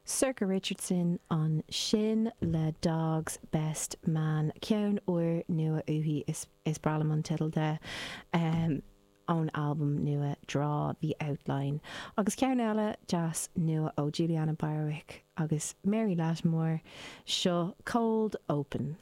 Sorcha Richardson ansin le Dog's Best Man, ceann úr nua uaithi, is breá liom an teideal de, ón albam nua Draw the Outline. Agus ceann eile deas nua ó Julianna Barwick agus Mary Lattimore, seo Cold Open.